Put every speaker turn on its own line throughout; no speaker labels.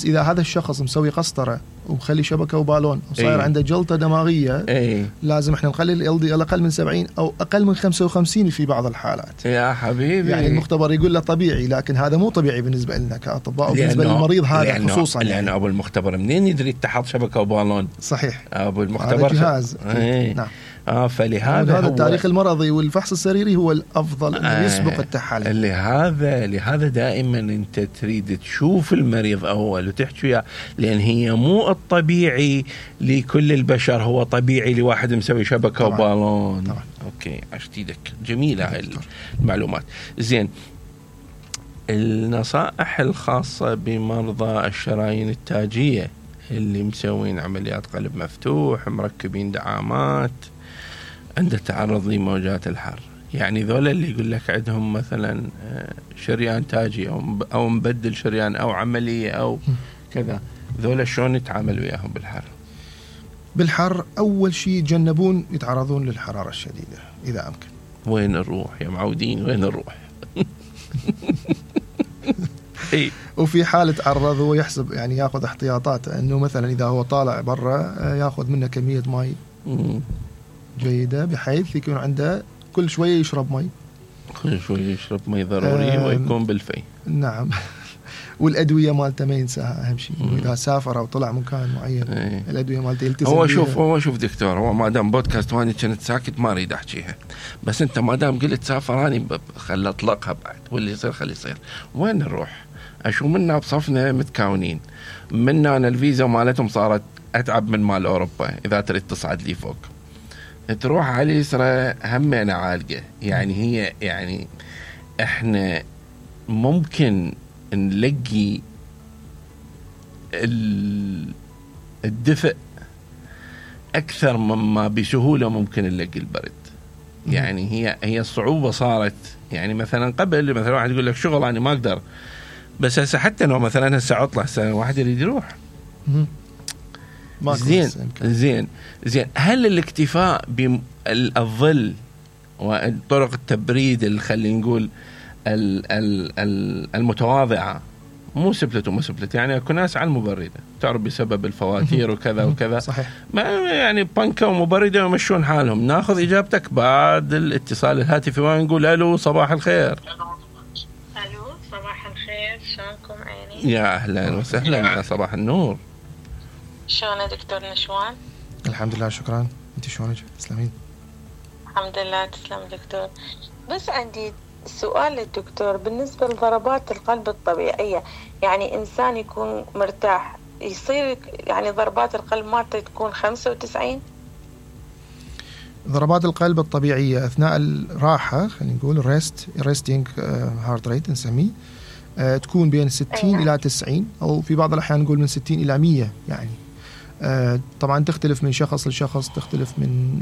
إذا هذا الشخص مسوي قسطرة ومخلي شبكة وبالون وصاير عنده جلطة دماغية لازم احنا نخلي ال LDL أقل من 70 أو أقل من 55 في بعض الحالات.
يا حبيبي
يعني المختبر يقول له طبيعي، لكن هذا مو طبيعي بالنسبة لنا كأطباء وبالنسبة للمريض هذا خصوصا.
لأن أبو المختبر منين يدري تحط شبكة وبالون؟
صحيح،
أبو المختبر
جهاز.
نعم. فلهذا
هذا التاريخ المرضي والفحص السريري هو الأفضل أنه يسبق التحاليل.
لهذا دائما أنت تريد تشوف المريض أول وتحكي وياه، لأن هي مو الطبيعي لكل البشر، هو طبيعي لواحد مسوي شبكة وبالون.
طبعا.
أوكي، عشتيدك جميلة هاي المعلومات. زين، النصائح الخاصة بمرضى الشرايين التاجية اللي مسوين عمليات قلب مفتوح، مركبين دعامات، عند التعرض لموجات الحر، يعني ذولا اللي يقول لك عندهم مثلا شريان تاجي أو مبدل شريان أو عملية أو كذا، ذولا شلون يتعامل وياهم
بالحر؟ أول شيء يتجنبون يتعرضون للحرارة الشديدة إذا أمكن.
وين نروح يا معودين، وين نروح؟
وفي حالة تعرض هو يحسب، يعني ياخذ احتياطاته، انه مثلا اذا هو طالع برا ياخذ منه كمية ماء جيدة بحيث يكون عنده كل شوية يشرب ماء،
كل شوية يشرب ماء ضروري ويكون بالفي.
نعم. والأدوية مالته ما ينساها، أهم شيء إذا سافر أو طلع مكان معين الأدوية مالته يلتزم
هو شوف دكتور، هو ما دام بودكاست واني كنت ساكت ما أريد أحكيها، بس أنت ما دام قلت سافراني خلي أطلقها بعد، واللي يصير خلي يصير. وين نروح؟ أشو منا بصفنا متكاونين، منا أنا الفيزا مالتهم صارت أتعب من مال أوروبا. إذا تريد تصعد لي فوق تروح على اليسرى همنا عالقة، يعني هي يعني إحنا ممكن نلقي الدفء أكثر مما بسهولة ممكن نلقي البرد. يعني هي الصعوبة صارت، يعني مثلا قبل مثلا واحد يقول لك شغل أنا ما أقدر، بس هسه حتى لو مثلا هسه عطلة هسه واحد يريد يروح. زين هل الاكتفاء بالظل وطرق التبريد اللي خلينا نقول المتواضعة، مو سبلت وما سبلت، يعني اكو ناس على المبردة تعرف بسبب الفواتير وكذا وكذا،
صحيح،
ما يعني بنكة ومبردة ويمشون حالهم. ناخذ إجابتك بعد الاتصال الهاتفي ونقول ألو صباح الخير.
ألو صباح الخير، شلونكم عيني؟
يا أهلا وسهلا، صباح النور.
شلونه دكتور نشوان؟
الحمد لله شكرا، انت شلونك؟ تسلمين.
الحمد لله تسلم دكتور. بس عندي سؤال للدكتور بالنسبة لضربات القلب الطبيعية، يعني إنسان يكون مرتاح يصير يعني ضربات القلب مالته تكون 95؟
ضربات القلب الطبيعية أثناء الراحة خلينا نقول ريستينج هارت ريت نسميه، تكون بين 60 إلى 90، أو في بعض الأحيان نقول من 60 إلى 100 يعني. طبعا تختلف من شخص لشخص، تختلف من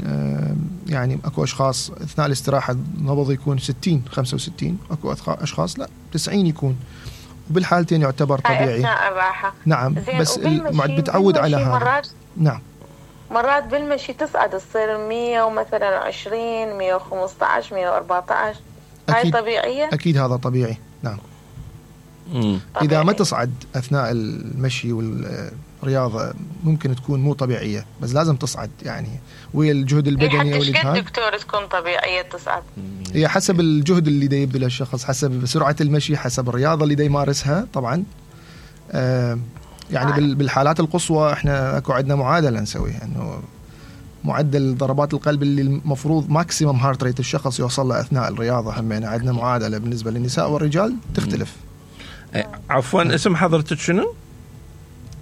يعني أكو أشخاص أثناء الاستراحة نبض يكون 60 65، أكو أشخاص لا 90 يكون، وبالحالتين يعتبر طبيعي
أثناء الراحة.
نعم، بس بتعود على هذا. نعم،
مرات بالمشي تصعد تصير 100 ومثلا 20 115 114، هاي طبيعية؟
أكيد هذا طبيعي، نعم. إذا ما تصعد أثناء المشي والرياضة ممكن تكون مو طبيعية، بس لازم تصعد يعني ويا الجهد البدني أو الإجهاد.
دكتور تكون طبيعية تصعد؟
هي حسب الجهد اللي دا يبذله الشخص، حسب سرعة المشي، حسب الرياضة اللي دا يمارسها طبعا. يعني بالحالات القصوى احنا اكو عندنا معادلة نسويها، انه معدل ضربات القلب اللي المفروض ماكسيمم هارت ريت الشخص يوصل له اثناء الرياضة، همينا عندنا معادلة بالنسبة للنساء والرجال تختلف.
عفوا اسم حضرتك شنو؟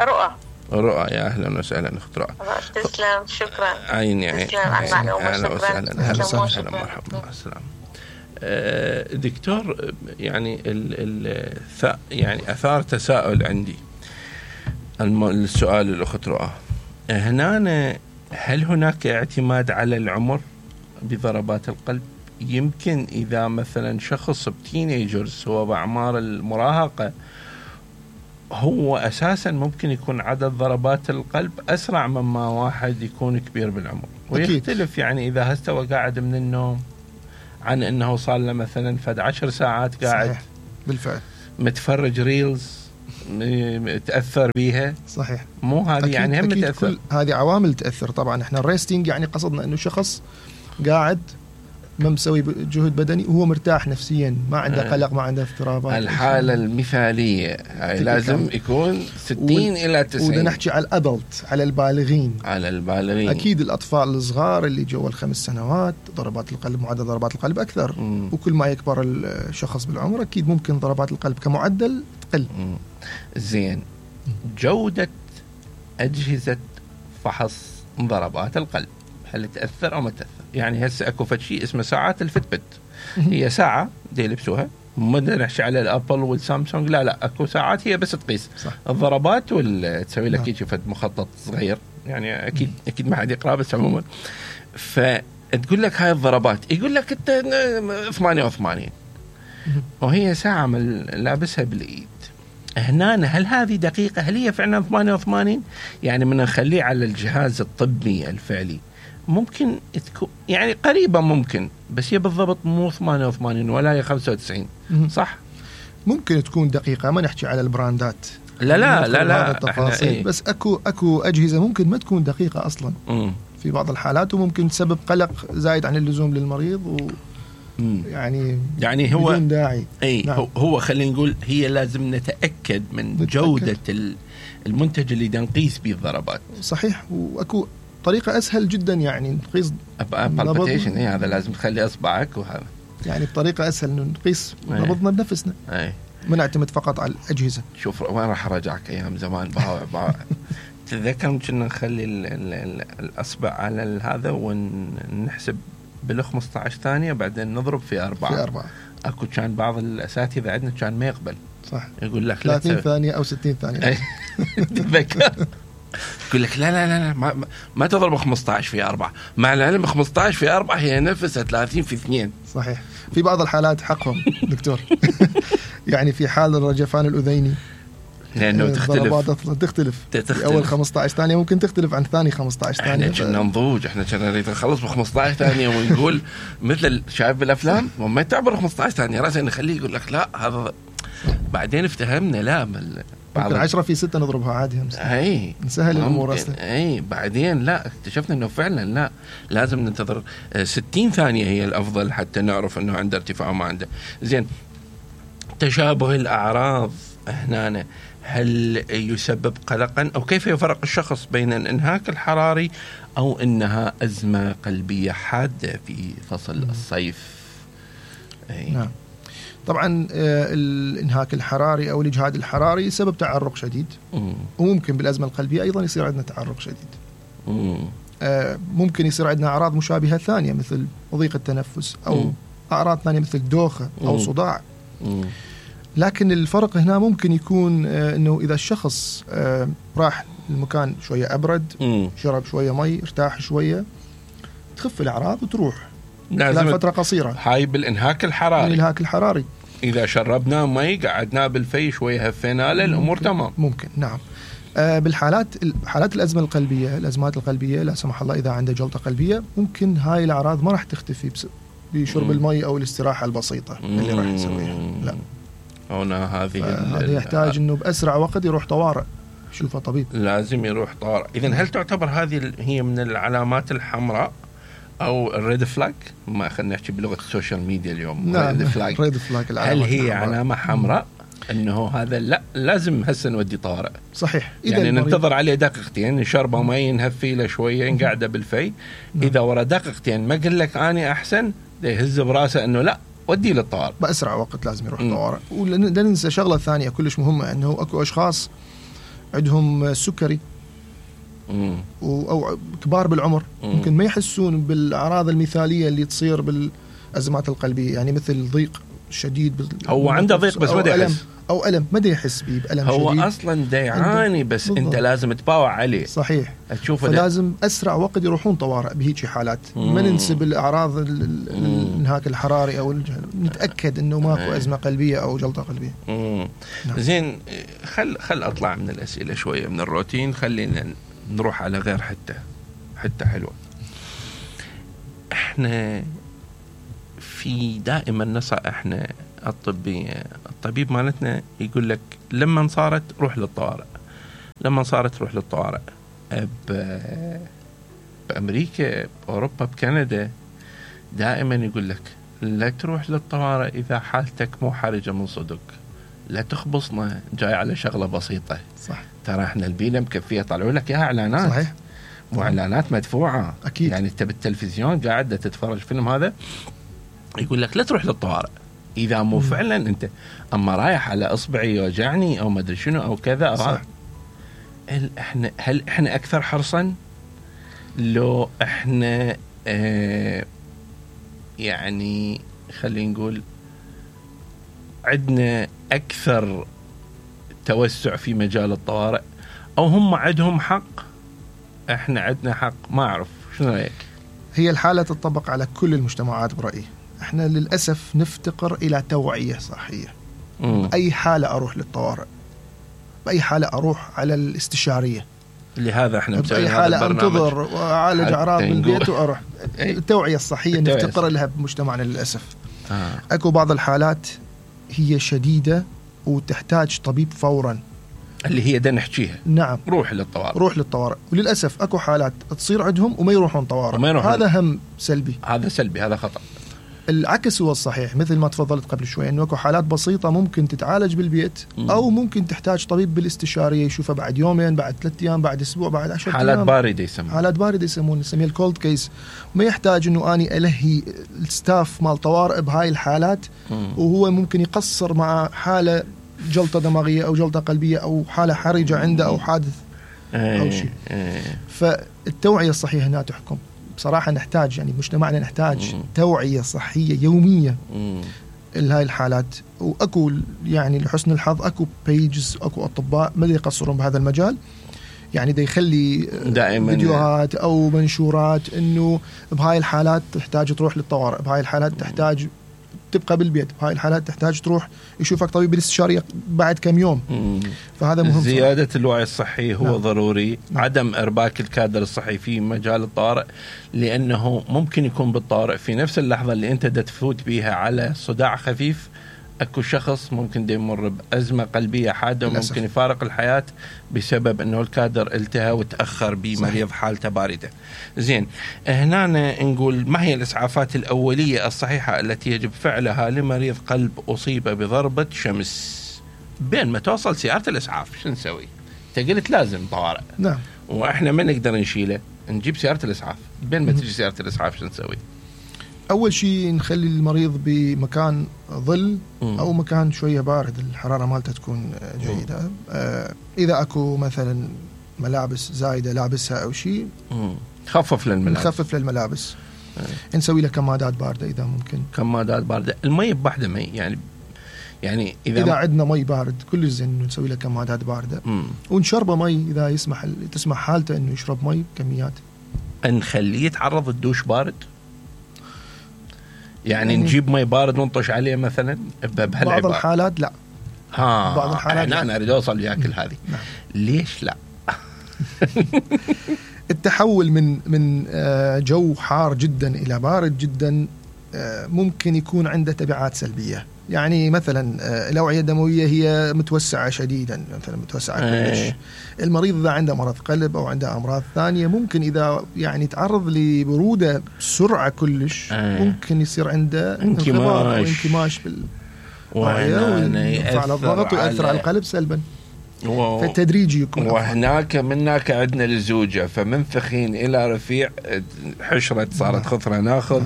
رؤى.
يا اهلا وسهلا اخت رؤى.
تسلم، شكرا.
عيني
اهلا
وسهلا، اهلا وسهلا، مرحبا، السلام. دكتور، يعني يعني اثار تساؤل عندي السؤال الاخت رؤى هنا، هل هناك اعتماد على العمر بضربات القلب؟ يمكن إذا مثلا شخص بتينيجرز هو بأعمار المراهقة، هو أساسا ممكن يكون عدد ضربات القلب أسرع مما واحد يكون كبير بالعمر، ويختلف يعني إذا هستوى قاعد من النوم عن أنه صار له مثلا 10 ساعات قاعد.
صحيح. بالفعل
متفرج ريلز تأثر بيها؟
صحيح.
مو هذه يعني هم تأثر.
هذه عوامل تأثر طبعا. احنا الريستينج يعني قصدنا انه شخص قاعد ما مسوي جهد بدني وهو مرتاح نفسيا، ما عنده قلق، ما عنده اضطرابات.
الحالة المثالية لازم يكون 60 إلى 90.
وده نحكي على الأدلت، على البالغين.
على البالغين.
أكيد الأطفال الصغار اللي جوا ال5 سنوات ضربات القلب، معدل ضربات القلب أكثر. وكل ما يكبر الشخص بالعمر أكيد ممكن ضربات القلب كمعدل تقل.
زين. جودة أجهزة فحص ضربات القلب هل تأثر أو ما تأثر؟ يعني هسه اكو شيء اسمه ساعات الفتبت، هي ساعة دي يلبسوها، ما نحكي على الابل والسامسونج، لا اكو ساعات هي بس تقيس صح. الضربات تسوي لك هيك فد مخطط صغير، يعني اكيد ما حد يقرا بس عموما، فتقول لك هاي الضربات، يقول لك انت 88 وهي ساعة لابسها بالايد. هنا هل هذه دقيقة؟ هل هي فعلا 88؟ يعني من نخليه على الجهاز الطبي الفعلي ممكن تكون يعني قريبة ممكن، بس هي بالضبط مو 88 ولا هي 95 صح؟
ممكن تكون دقيقة، ما نحكي على البراندات.
لا
التفاصيل، بس اكو أجهزة ممكن ما تكون دقيقة أصلا في بعض الحالات، وممكن تسبب قلق زايد عن اللزوم للمريض يعني هو بدون داعي.
نعم. هو خلينا نقول هي لازم نتأكد من جودة المنتج اللي نقيس به الضربات.
صحيح. واكو طريقة أسهل جدا يعني نقيس
بالبيتيشن، هذا لازم تخلي أصبعك وهذا يعني
بطريقة أسهل إنه نقيس نبضنا بنفسنا، ما نعتمد فقط على الأجهزة.
شوف وين راح أرجعك أيام زمان باوع تذكر كنا نخلي الأصبع على هذا ونحسب بال15 ثانية بعدين نضرب في 4. أكو كان بعض الأساتذة عندنا كان ما يقبل
صح،
يقول لك
30 ثانية أو 60 ثانية
تذكر يقول لك لا ما تضرب 15 في 4، مع العلم 15 في 4 هي نفسها 30 في 2.
صحيح. في بعض الحالات حقهم دكتور يعني في حال الرجفان الأذيني
لأنه
تختلف. في أول 15 ثانية ممكن تختلف عن ثاني 15 ثانية.
احنا كنا نضوج، احنا كنا نريد نخلص ب 15 ثانية ونقول مثل شايف بالأفلام وما تعبر 15 ثانية راسا نخليه يقول لك لا هذا. بعدين افتهمنا لا
ممكن 10 في 6 نضربها عادي، نسهل الأمور أصلا.
بعدين لا اكتشفنا إنه فعلا لا لازم ننتظر 60 ثانية هي الأفضل حتى نعرف إنه عنده ارتفاع وما عنده. زين. تشابه الأعراض هنا هل يسبب قلقا أو كيف يفرق الشخص بين الانهاك الحراري أو إنها أزمة قلبية حادة في فصل الصيف؟
نعم. طبعا الانهاك الحراري أو الإجهاد الحراري سبب تعرق شديد، وممكن بالأزمة القلبية أيضا يصير عندنا تعرق شديد. ممكن يصير عندنا أعراض مشابهة ثانية مثل ضيق التنفس أو أعراض ثانية مثل دوخة أو صداع. لكن الفرق هنا ممكن يكون أنه إذا الشخص راح المكان شوية أبرد، شرب شوية مي، ارتاح شوية، تخف الأعراض وتروح خلال فترة قصيرة.
هاي بالإنهاك الحراري.
الإنهاك الحراري
إذا شربنا مي قعدنا بالفي شوية هفينا الأمور تمام.
ممكن نعم. حالات الأزمة القلبية، الأزمات القلبية لا سمح الله إذا عنده جلطة قلبية، ممكن هاي الأعراض ما راح تختفي بشرب المي أو الاستراحة البسيطة اللي راح نسويها. لا
هنا
هذا يحتاج إنه بأسرع وقت يروح طوارئ، شوفه طبيب،
لازم يروح طوارئ. إذن هل تعتبر هذه هي من العلامات الحمراء أو الريد فلاج؟ ما خلينا نحكي بلغة السوشيال ميديا اليوم.
نعم. ريد فلاج
هل هي علامة حمراء إنه هذا لا لازم هسه نودي طوارئ؟
صحيح.
يعني ننتظر عليه دقيقتين، نشربه مي، نهفي له شوية، نقعده بالفي. إذا ورا دقيقتين ما قل لك أنا أحسن، يهز براسه إنه لا ودي للطوارئ
بأسرع وقت، لازم يروح طوارئ. ولا ننسى شغلة ثانية كلش مهمة، أنه أكو أشخاص عندهم سكري أو كبار بالعمر ممكن ما يحسون بالأعراض المثالية اللي تصير بالأزمات القلبية، يعني مثل ضيق شديد،
هو عنده ضيق بس ما يحس،
أو ألم ما يحس به بألم
هو
شديد،
أصلا يعاني بس بالضبط. أنت لازم تباوع عليه.
صحيح.
تشوفه
فلازم أسرع وقت يروحون طوارئ بهيك حالات. ما ننسب الأعراض الانهاك الحراري أو نتأكد أنه ماكو أزمة قلبية أو جلطة قلبية.
نعم. زين. خل أطلع من الأسئلة شوية من الروتين، خلينا نروح على غير حتة حلوة. احنا في دائما نصائحنا الطب الطبيب مالتنا يقول لك لما صارت روح للطوارئ، لما صارت روح للطوارئ. بأمريكا، بأوروبا، بكندا دائما يقول لك لا تروح للطوارئ إذا حالتك مو حرجة من صدق، لا تخبصنا جاي على شغلة بسيطة.
صح.
ترى احنا البيئة مكفية، طلعوا لك إياها إعلانات.
صحيح.
وإعلانات مدفوعة.
أكيد.
يعني أنت بالتلفزيون قاعد تتفرج فيلم هذا يقول لك لا تروح للطوارئ إذا مو فعلا أنت أما رايح على إصبعي يوجعني أو ما أدري شنو أو كذا.
صح.
هل إحنا أكثر حرصا لو إحنا يعني خلينا نقول عندنا أكثر توسع في مجال الطوارئ، أو هم عندهم حق إحنا عندنا حق؟ ما أعرف شنو رأيك؟
هي الحالة تطبق على كل المجتمعات برأيي. احنا للأسف نفتقر إلى توعية صحية. أي حالة أروح للطوارئ، بأي حالة أروح على الاستشارية،
لهذا احنا
بأي حالة أنتظر وأعالج أعراض بالبيت وأروح. التوعية الصحية نفتقر لها بمجتمعنا للأسف. أكو بعض الحالات هي شديدة وتحتاج طبيب فورا،
اللي هي دا نحكيها.
نعم.
روح للطوارئ،
روح للطوارئ. وللأسف أكو حالات تصير عندهم وما يروحون طوارئ. هذا هم سلبي،
هذا سلبي، هذا خطأ.
العكس هو الصحيح، مثل ما تفضلت قبل شوي انه اكو حالات بسيطه ممكن تتعالج بالبيت، او ممكن تحتاج طبيب بالاستشاريه يشوفه بعد يومين، بعد 3 ايام، بعد اسبوع، بعد 10 ايام.
حالات باردة يسمونها،
حالات باردة يسمونها، نسميها الكولد كيس. ما يحتاج انه اني الهي الستاف مال طوارئ بهاي الحالات، وهو ممكن يقصر مع حاله جلطه دماغيه او جلطه قلبيه او حاله حرجه عنده او حادث او شيء. فالتوعيه الصحيحه هنا تحكم. بصراحة نحتاج، يعني مجتمعنا نحتاج توعية صحية يومية لهاي الحالات. وأكو يعني لحسن الحظ أكو بيجز، أكو أطباء ما يقصرون بهذا المجال، يعني دا يخلي دائما فيديوهات أو منشورات إنه بهاي الحالات تحتاج تروح للطوارئ، بهاي الحالات تحتاج تبقى بالبيت، بهاي الحالات تحتاج تروح يشوفك طبيب بالاستشارية بعد كم يوم. فهذا مهم.
زيادة الوعي الصحي هو ضروري. عدم إرباك الكادر الصحي في مجال الطوارئ، لأنه ممكن يكون بالطوارئ في نفس اللحظة اللي أنت تفوت بيها على صداع خفيف أكو شخص ممكن يمر بأزمة قلبية حادة وممكن يفارق الحياة بسبب أنه الكادر التهى وتأخر بمريض حالته باردة. زين، هنا نقول ما هي الإسعافات الأولية الصحيحة التي يجب فعلها لمريض قلب أصيب بضربة شمس؟ بين ما توصل سيارة الإسعاف شو نسوي؟ تقلت لازم طوارئ.
نعم.
وإحنا ما نقدر نشيله، نجيب سيارة الإسعاف. بين ما تجي سيارة الإسعاف شو نسوي؟
أول شيء نخلي المريض بمكان ظل أو مكان شوية بارد، الحرارة مالته تكون جيدة. إذا أكو مثلا ملابس زايدة لابسها أو شيء
خفف للملابس.
نخفف للملابس. نسوي له كمادات باردة إذا ممكن.
كمادات باردة. المي بوحدة مي يعني إذا
عندنا مي بارد كل زين نسوي له كمادات باردة. ونشربه مي إذا تسمح حالته إنه يشرب مي كميات.
نخليه يتعرض الدوش بارد، يعني نجيب مي بارد ونطش عليه مثلا
بعض الحالات لا.
بعض الحالات أنا أريد أوصل ياكل هذه.
نعم.
ليش لا؟ التحول
من جو حار جدا إلى بارد جدا ممكن يكون عنده تبعات سلبية. يعني مثلا الأوعية الدموية هي متوسعة شديدا، مثلا متوسعة كلش. المريض إذا عنده مرض قلب أو عنده أمراض ثانية ممكن إذا يعني تعرض لبرودة بسرعة كلش ممكن يصير عنده انقباض أو انكماش ويرفع على الضغط ويأثر على القلب سلبا. فالتدريجي يكون.
وهناك منك عندنا للزوجة، فمن ثخين إلى رفيع حشرة صارت خطرة. ناخذ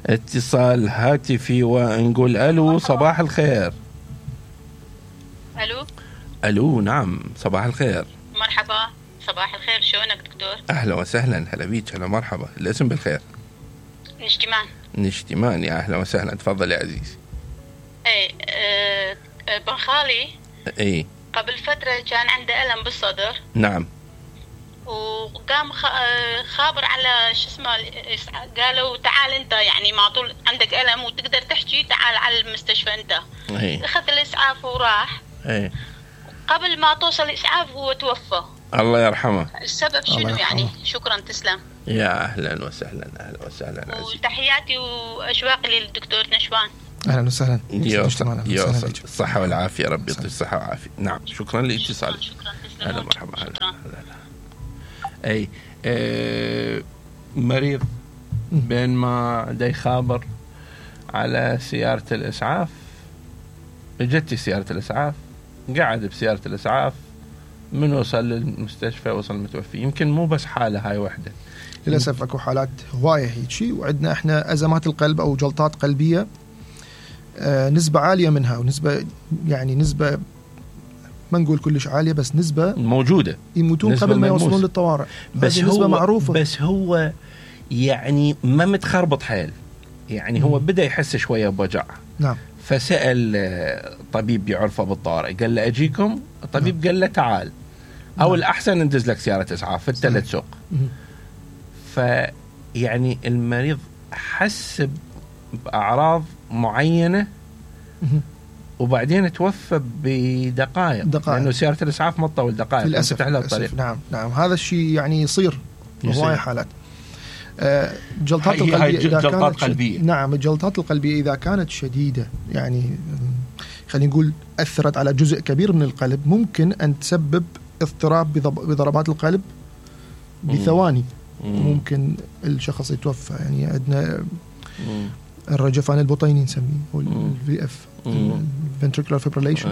اتصال هاتفي ونقول ألو، صباح الخير. ألو نعم صباح الخير.
مرحبا، صباح الخير، شلونك دكتور؟
أهلا وسهلا، هلا بيك، هلا مرحبا. الاسم بالخير؟ نشتمان، يا أهلا وسهلا، تفضل يا عزيز.
ابن خالي قبل فترة كان عنده ألم بالصدر.
نعم.
وقام خابر على شو اسمه، قالوا تعال انت، يعني ما طول عندك ألم وتقدر تحكي، تعال على المستشفى انت. اخذ الإسعاف وراح. قبل ما توصل الإسعاف هو توفى.
الله يرحمه.
السبب شنو يعني؟ شكرا، تسلم.
يا أهلا وسهلا، أهلا وسهلا.
وتحياتي وأشواقي للدكتور نشوان.
اهلا وسهلا.
يوصل الصحه والعافيه، ربي يعطيك الصحه والعافيه. نعم شكرا لاتصالك. هلا مرحبا. اي مريض بين ما دا يخابر على سياره الاسعاف، اجت سياره الاسعاف، قعد بسياره الاسعاف، من وصل للمستشفى وصل متوفي. يمكن مو بس حاله هاي وحده،
للاسف اكو حالات هوايه هيك شيء. وعندنا احنا ازمات القلب او جلطات قلبيه نسبه عاليه منها، ونسبه يعني نسبه ما نقول كلش عاليه، بس نسبه
موجوده،
يموتون قبل ما يوصلون للطوارئ.
بس هو نسبة معروفه، بس هو يعني ما متخربط حيل، يعني هو بدا يحس شويه بوجع.
نعم.
فسال طبيب يعرفه بالطوارئ، قال له اجيكم. الطبيب قال له تعال، او الاحسن ندز لك سياره اسعاف في الثلاث سوق. فيعني المريض حس باعراض معينه وبعدين توفى بدقائق، لانه سياره الاسعاف ما تطول دقائق
للاسف.
الطريق.
نعم هذا الشيء يعني يصير هواي حالات. جلطات القلبية إذا كانت قلبية. نعم الجلطات القلبية إذا كانت شديدة، يعني خلينا نقول أثرت على جزء كبير من القلب، ممكن أن تسبب اضطراب بضربات القلب بثواني. ممكن الشخص يتوفى. يعني عندنا الرجفان البطيني نسميه الVF ventricular fibrillation،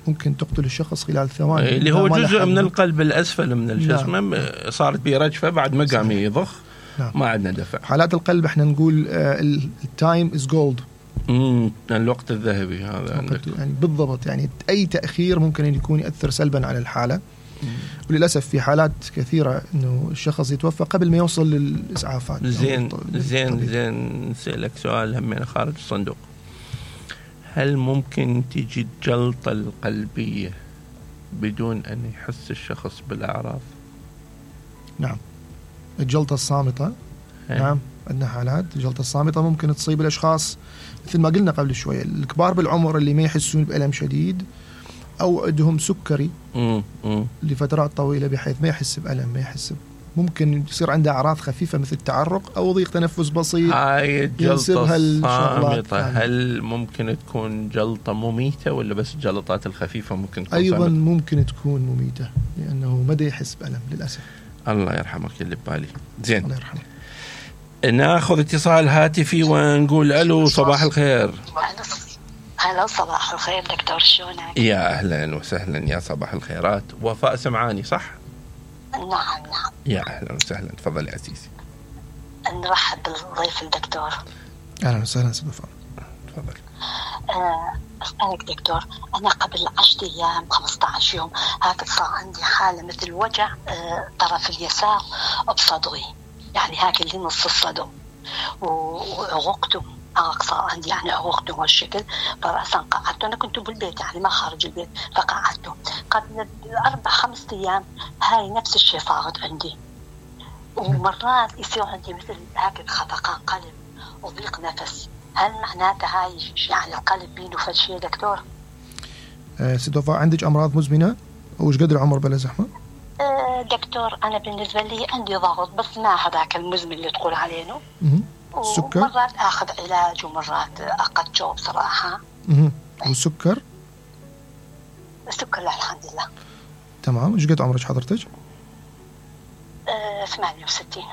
ممكن تقتل الشخص خلال ثواني،
اللي هو جزء من القلب الأسفل من الجسم. صارت به رجفة بعد ما قام يضخ. ما عندنا دفع.
حالات القلب احنا نقول التايم از جولد،
الوقت الذهبي هذا عندك.
يعني بالضبط، يعني أي تأخير ممكن أن يكون يأثر سلبا على الحالة. وللأسف في حالات كثيرة إنه الشخص يتوفى قبل ما يوصل للإسعافات.
زين نسألك سؤال هم خارج الصندوق. هل ممكن تيجي الجلطة القلبية بدون أن يحس الشخص بالأعراض؟
نعم. الجلطة الصامتة نعم عندنا حالات. الجلطة الصامتة ممكن تصيب الأشخاص مثل ما قلنا قبل شوية، الكبار بالعمر اللي ما يحسون بألم شديد، أو عندهم سكري لفترات طويلة بحيث ما يحس بألم، ما يحس. ممكن يصير عنده أعراض خفيفة مثل تعرق أو ضيق تنفس بسيط.
هاي الجلطة الصامتة هل ممكن تكون جلطة مميتة ولا بس الجلطات الخفيفة ممكن تكون
أيضا صامتة؟ ممكن تكون مميتة لأنه ما يحس بألم للأسف.
الله يرحمك اللي ببالي. زين
الله يرحمه.
ناخذ اتصال هاتفي ونقول ألو صباح الخير.
هلا صباح الخير دكتور، شلونك؟
يا أهلا وسهلا، يا صباح الخيرات. وفاء سمعاني صح؟
نعم.
يا أهلا وسهلا، تفضل يا عزيزي.
نرحب بالضيف الدكتور.
أهلا وسهلا سيد وفاء،
تفضل.
أسألك دكتور، أنا قبل 10 أيام 15 يوم هكذا صار عندي حالة مثل وجع طرف اليسار بصدري، يعني هكذا اللي نص الصدر، وعرقته صار عندي يعني عرقته هالشكل. فرأسا قعدت، أنا كنت بالبيت يعني ما خارج البيت، فقعدته قبل 4-5 أيام هاي نفس الشيء صارت عندي. ومرات يصير عندي مثل هكذا خفقان قلب وضيق نفس. هل معناته هاي يعني القلب بينه فد شيء دكتور؟
سيد وفاء عندك أمراض مزمنة؟ وش قدر العمر بلا زحمة؟
دكتور أنا بالنسبة لي عندي ضغط، بس ما هذاك المزمن اللي تقول عليه.
السكر؟
ومرات أخذ علاج ومرات أقطعه بصراحة.
والسكر؟
السكر لا الحمد لله
تمام. ايش قد عمرك حضرتك؟
68.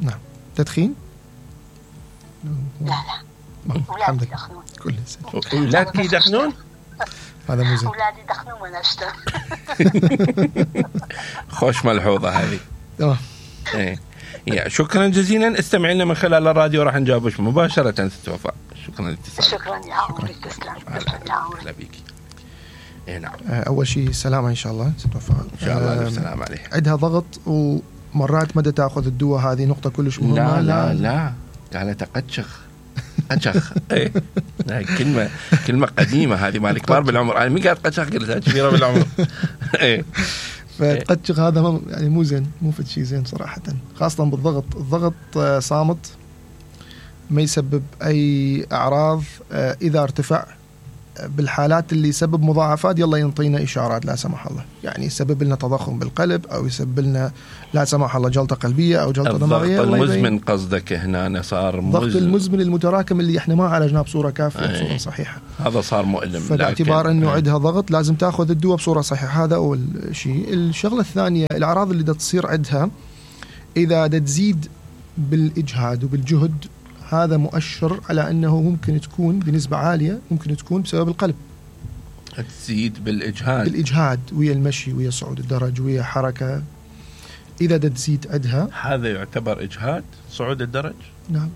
نعم. تدخين؟
لا أولادي يدخنون.
كل
سنة أولادك يدخنون؟
هذا مو زين.
أولادي يدخنون وأنا أشتغل.
خوش ملحوظة هذه.
تمام.
يا شكرا جزيلا. استمعنا من خلال الراديو راح نجاوبك مباشرة ست وفاء. شكرا للاتصال.
شكرا يا عمري، تسلم. يا عمري.
بيك. نعم.
أول شيء سلامة إن شاء الله ست وفاء.
إن شاء الله السلام عليه.
عندها ضغط ومرات مدى تأخذ الدواء، هذه نقطة كلش مهمة.
لا قالت قتشخ. ايه كلمة قديمة هذه مال كبار بالعمر. أنا مين قالت قتشخ؟ قلتها كبيرة بالعمر. ايه
فقتشخ هذا يعني مو زين، مو فد شيء زين صراحة، خاصة بالضغط. الضغط صامت ما يسبب أي أعراض. إذا ارتفع بالحالات اللي يسبب مضاعفات يلا ينطينا إشارات لا سمح الله، يعني يسبب لنا تضخم بالقلب أو يسبب لنا لا سمح الله جلطة قلبية أو جلطة دماغية.
الضغط المزمن قصدك هنا صار
الضغط المزمن المتراكم اللي احنا ما عالجناه بصورة كافية بصورة صحيحة،
هذا صار مؤلم.
فباعتبار أنه عندها ضغط لازم تأخذ الدواء بصورة صحيحة. هذا أول شيء. الشغلة الثانية الأعراض اللي تصير عندها إذا تزيد بالإجهاد وبالجهد، هذا مؤشر على أنه ممكن تكون بنسبة عالية ممكن تكون بسبب القلب.
تزيد بالإجهاد
ويا المشي ويا صعود الدرج ويا حركة، إذا تزيد عندها
هذا يعتبر إجهاد. صعود الدرج
نعم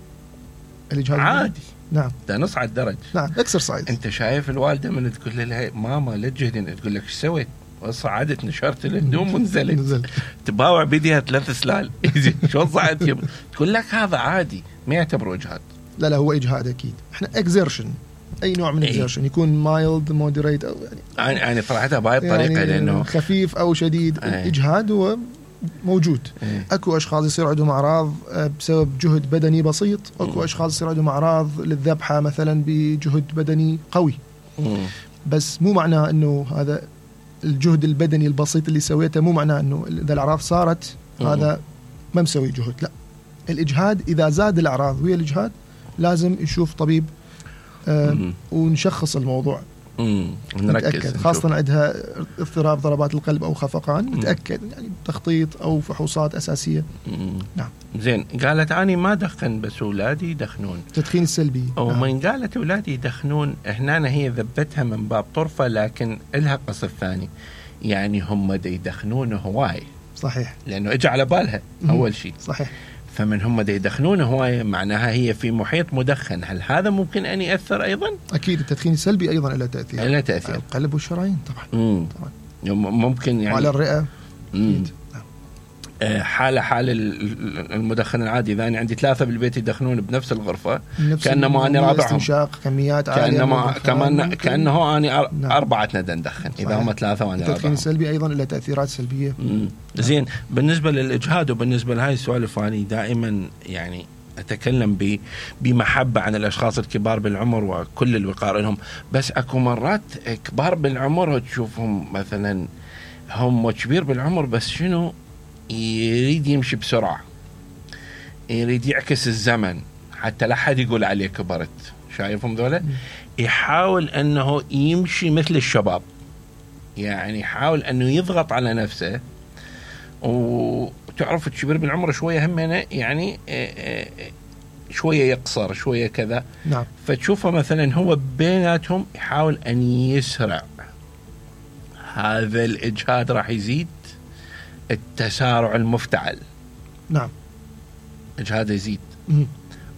الإجهاد
عادي.
نعم
ده نصعد درج.
نعم اكسرسايز.
أنت شايف الوالدة من تقول لها ماما لا تجهدين، تقول لك ايش سويت؟ وصعدت نشرت الهدوم ونزلت تباوع بيديها 3 سلال شو صعدت؟ تقول لك هذا عادي، ما يعتبره إجهاد.
لا هو إجهاد أكيد. إحنا exertion أي نوع من exertion يكون mild moderate أو
يعني طلعتها بهاي الطريقة يعني لأنه
خفيف أو شديد. الإجهاد هو موجود. أكو أشخاص يصير عندهم أعراض بسبب جهد بدني بسيط، أكو أشخاص يصير عندهم أعراض للذبحة مثلا بجهد بدني قوي. بس مو معناه أنه هذا الجهد البدني البسيط اللي سويته مو معناه أنه إذا الأعراض صارت هذا ما مسوي جهد. لا، الإجهاد إذا زاد الأعراض ويا الإجهاد لازم يشوف طبيب ونشخص الموضوع. نتأكد خاصة عندها اضطراب ضربات القلب أو خفقان، نتأكد يعني تخطيط أو فحوصات أساسية.
نعم. زين، قالت أنا ما دخن بس أولادي يدخنون.
تدخين السلبي.
ومن قالت أولادي يدخنون هنا هي ذبتها من باب طرفة، لكن إلها قصد ثاني، يعني هم يدخنون هواي.
صحيح.
لأنه إجا على بالها أول شيء.
صحيح.
فمن هم يدخنون هواية معناها هي في محيط مدخن. هل هذا ممكن أن يأثر أيضا؟
أكيد التدخين السلبي أيضا له تأثير.
له تأثير
على القلب والشرايين طبعا.
ممكن يعني
وعلى الرئة.
حال المدخن العادي. إذا أنا عندي 3 بالبيت يدخنون بنفس الغرفة كأنما أنا رابعهم،
استنشاق كميات عالية
كأنه أنا 4 ندخن. إذا هم 3 وأنا 4.
التدخين السلبي أيضا له تأثيرات سلبية.
زين، بالنسبة للإجهاد وبالنسبة لهاي السوالف أنا دائما يعني أتكلم بمحبة عن الأشخاص الكبار بالعمر وكل الوقار لهم، بس أكو مرات كبار بالعمر تشوفهم مثلا هم كبير بالعمر بس شنو يريد يمشي بسرعة، يريد يعكس الزمن حتى لا حد يقول عليه كبرت. شايفهم ذولا؟ يحاول أنه يمشي مثل الشباب، يعني يحاول أنه يضغط على نفسه. وتعرف الكبير بالعمر شوية همنا يعني شوية يقصر شوية كذا.
نعم.
فتشوفه مثلا هو بيناتهم يحاول أن يسرع، هذا الإجهاد راح يزيد التسارع المفتعل.
نعم.
إجهاد يزيد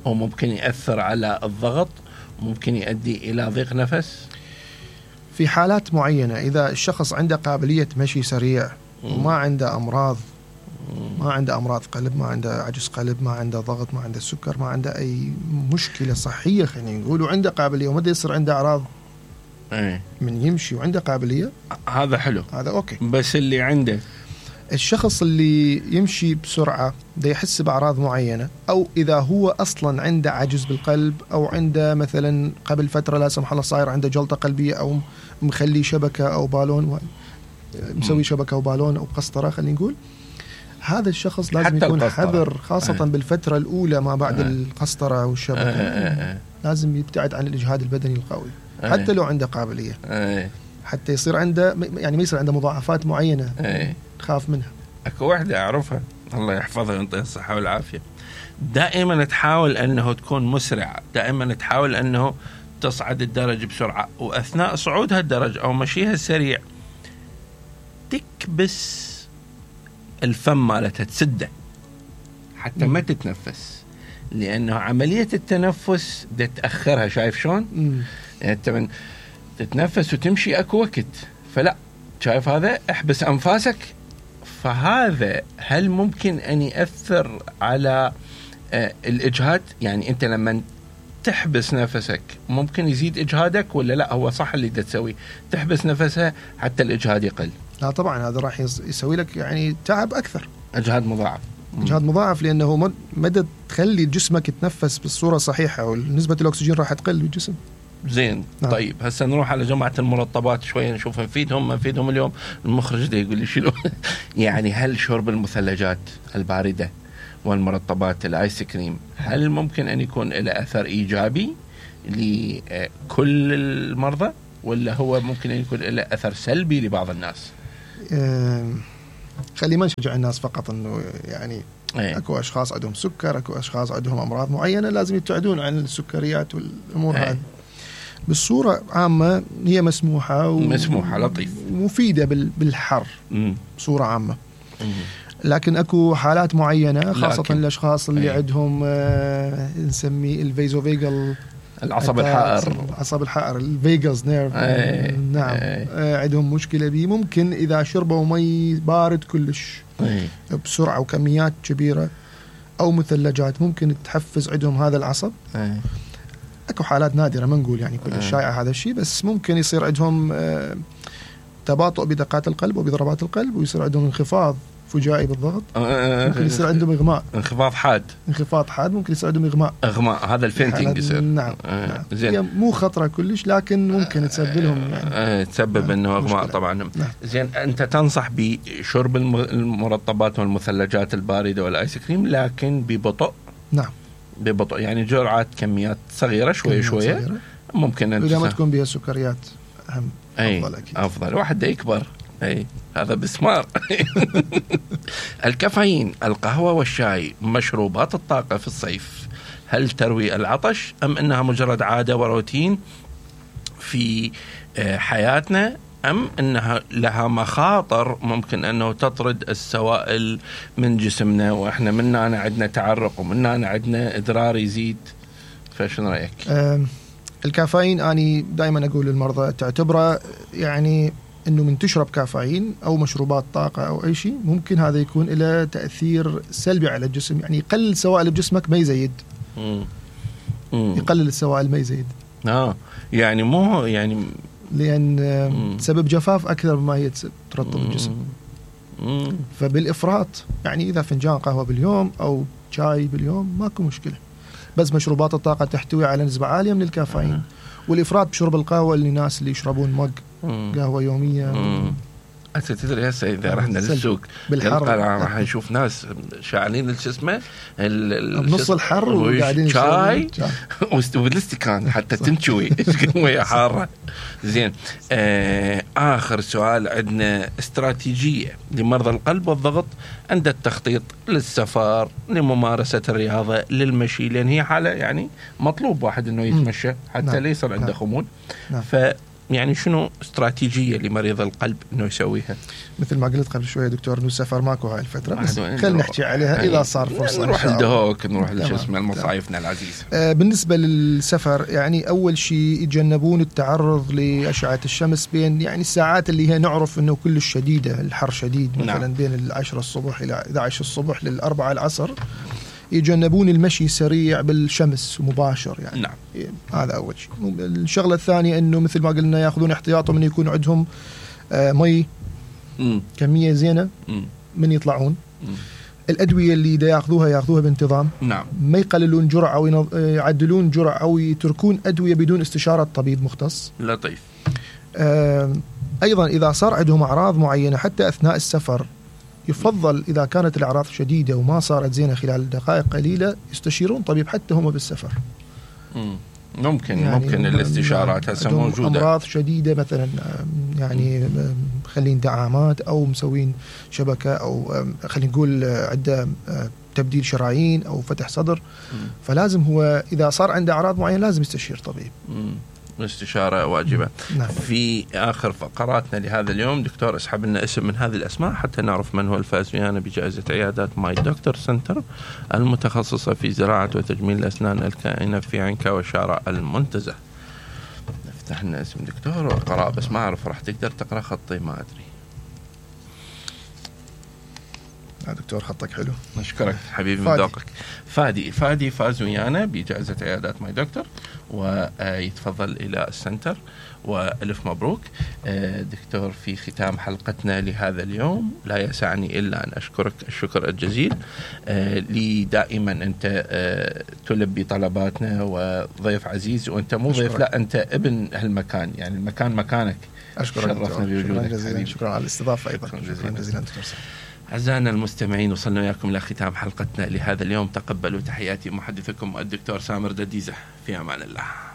وممكن يأثر على الضغط، ممكن يؤدي إلى ضيق نفس
في حالات معينة. إذا الشخص عنده قابلية مشي سريع وما عنده أمراض، ما عنده أمراض قلب، ما عنده عجز قلب، ما عنده ضغط، ما عنده سكر، ما عنده أي مشكلة صحية خلينا نقول، وعنده قابلية وما يصير عنده أعراض من يمشي وعنده قابلية،
هذا حلو،
هذا أوكي.
بس اللي عنده
الشخص اللي يمشي بسرعة ده يحس بأعراض معينة، أو إذا هو أصلا عنده عجز بالقلب، أو عنده مثلا قبل فترة لا سمح الله صاير عنده جلطة قلبية، أو مخلي شبكة أو بالون، مسوي شبكة أو بالون أو قسطرة خلينا نقول، هذا الشخص لازم يكون حذر، خاصة بالفترة الأولى ما بعد القسطرة والشبكة. لازم يبتعد عن الإجهاد البدني القوي حتى لو عنده قابلية، حتى يصير عنده يعني ما يصير عنده مضاعفات معينة خاف منها.
أكو واحدة أعرفها الله يحفظها ويعطيها الصحة والعافية، دائما تحاول أنه تكون مسرعة، دائما تحاول أنه تصعد الدرج بسرعة، وأثناء صعودها الدرج أو مشيها السريع تكبس الفم مالتها، تسده حتى ما تتنفس، لأنه عملية التنفس ده تأخرها. شايف شلون؟ يعني أنت تتنفس وتمشي أكو وقت، فلا شايف هذا احبس أنفاسك. فهذا هل ممكن أن يأثر على الإجهاد؟ يعني أنت لما تحبس نفسك ممكن يزيد إجهادك ولا لا؟ هو صح اللي تسوي تحبس نفسها حتى الإجهاد يقل؟
لا طبعا، هذا راح يسوي لك يعني تعب أكثر،
إجهاد مضاعف.
إجهاد مضاعف، لأنه مدى تخلي جسمك يتنفس بالصورة الصحيحة ونسبة الأكسجين راح تقل بالجسم.
زين.
نعم.
طيب هسه نروح على جماعة المرطبات شوية نشوف نفيدهم ما نفيدهم اليوم. المخرج ده يقول لي شنو يعني هل شرب المثلجات الباردة والمرطبات الآيس كريم هل ممكن أن يكون له أثر إيجابي لكل المرضى ولا هو ممكن أن يكون له أثر سلبي لبعض الناس؟
خلي ما نشجع الناس فقط أنه يعني أكو أشخاص عندهم سكر، أكو أشخاص عندهم أمراض معينة لازم يبتعدون عن السكريات والأمور هذه. بالصورة عامة هي مسموحة
لطيف
ومفيدة بالحر بصورة عامة. لكن أكو حالات معينة خاصة الأشخاص اللي عندهم نسميه الفيزوفيجل
العصب
الحائر الفيجاس نيرف. نعم. عندهم مشكلة بيه، ممكن إذا شربوا مي بارد كلش بسرعة وكميات كبيرة أو مثلجات ممكن تحفز عندهم هذا العصب. أكو حالات نادرة ما نقول يعني كل شائع هذا الشيء، بس ممكن يصير عندهم تباطؤ بدقات القلب وبضربات القلب ويصير عندهم انخفاض فجائي بالضغط. ممكن يصير عندهم إغماء، انخفاض حاد، ممكن يصير عندهم إغماء
هذا الفينتينج يصير.
نعم. زين. مو خطرة كلش لكن ممكن تسبب لهم يعني
تسبب انه إغماء طبعا. نعم. زين انت تنصح بشرب المرطبات والمثلجات الباردة والآيس كريم لكن ببطء.
نعم
ببطء يعني جرعات كميات صغيرة شوية صغيرة. ممكن
إذا ما تكون بها سكريات أهم أفضل أكيد.
أفضل واحد ده يكبر هذا بسمار. الكافيين القهوة والشاي مشروبات الطاقة في الصيف هل تروي العطش أم أنها مجرد عادة وروتين في حياتنا أم أنها لها مخاطر ممكن أنه تطرد السوائل من جسمنا وإحنا منا أنا عندنا تعرق ومنا أنا عندنا إدرار يزيد؟ فشن رأيك؟
الكافيين أنا دائما أقول للمرضى تعتبره يعني أنه من تشرب كافيين أو مشروبات طاقة أو أي شيء ممكن هذا يكون له تأثير سلبي على الجسم، يعني يقلل سوائل بجسمك ما يزيد. يقلل السوائل ما يزيد.
يعني مو يعني
لأن تسبب جفاف أكثر مما هي ترطب الجسم. فبالإفراط يعني إذا فنجان قهوة باليوم أو شاي باليوم ماكو مشكلة، بس مشروبات الطاقة تحتوي على نسبة عالية من الكافيين. والإفراط بشرب القهوة للناس اللي يشربون مج قهوة يومية.
أنت تدري هسه إذا رحنا للسوق بالحر راح نشوف ناس شاعلين الجسمة
بنص الحر وقاعدين
شاي والاستكان حتى تنشوي وهي حارة. زين. آخر سؤال عندنا استراتيجية لمرضى القلب والضغط عند التخطيط للسفر لممارسة الرياضة للمشي لأن هي حالة يعني مطلوب واحد إنه يتمشى حتى لا يصير عنده خمول. يعني شنو استراتيجية لمريض القلب إنه يسويها؟
مثل ما قلت قبل شوية دكتور إنه السفر ماكو هاي الفترة، بس خلينا نحكي عليها إذا صار فرصة.
نروح الدهوك نروح لجسم المصايفنا العزيزة.
بالنسبة للسفر يعني أول شيء يتجنبون التعرض لأشعة الشمس بين يعني الساعات اللي هي نعرف إنه كل شديدة الحر شديد مثلا بين 10 الصبح إلى 11 الصبح لل4 العصر. يتجنبون المشي سريع بالشمس مباشر يعني.
نعم.
هذا أول شيء. الشغلة الثانية إنه مثل ما قلنا يأخذون احتياطهم إنه يكون عندهم مي كمية زينة من يطلعون. الأدوية اللي يأخذوها بانتظام.
نعم.
ما يقللون جرعة أو يعدلون جرعة أو يتركون أدوية بدون استشارة طبيب مختص.
لطيف.
أيضا إذا صار عندهم أعراض معينة حتى أثناء السفر يفضل إذا كانت الأعراض شديدة وما صارت زينة خلال دقائق قليلة يستشيرون طبيب حتى هم بالسفر.
ممكن الاستشارات هسه موجودة.
أمراض شديدة مثلا يعني خلين دعامات أو مسوين شبكة أو خلينا نقول عدة تبديل شرايين أو فتح صدر. فلازم هو إذا صار عنده أعراض معينة لازم يستشير طبيب.
استشارة واجبة.
نعم.
في آخر فقراتنا لهذا اليوم دكتور اسحب لنا اسم من هذه الأسماء حتى نعرف من هو الفائز ويانا بجائزة عيادات ماي دكتور سنتر المتخصصة في زراعة وتجميل الأسنان الكائنة في عنكا وشارع المنتزه. نفتح لنا اسم دكتور وقراء بس ما أعرف راح تقدر تقرأ خطي ما أدري.
دكتور خطك حلو.
نشكرك حبيبي من ذوقك. فادي فاز ويانا بجائزة عيادات ماي دكتور ويتفضل إلى السنتر. وألف مبروك. دكتور، في ختام حلقتنا لهذا اليوم لا يسعني إلا أن أشكرك الشكر الجزيل. لي دائما أنت تلبي طلباتنا وضيف عزيز، وأنت مو ضيف، لا أنت ابن هالمكان، يعني المكان مكانك.
أشكرك،
شرفنا بوجودك.
شكرا على الاستضافة أيضا. شكرا جزيلا دكتور سامر.
أعزائنا المستمعين، وصلنا وياكم إلى ختام حلقتنا لهذا اليوم. تقبلوا تحياتي محدثكم الدكتور سامر دديزة. في أمان الله.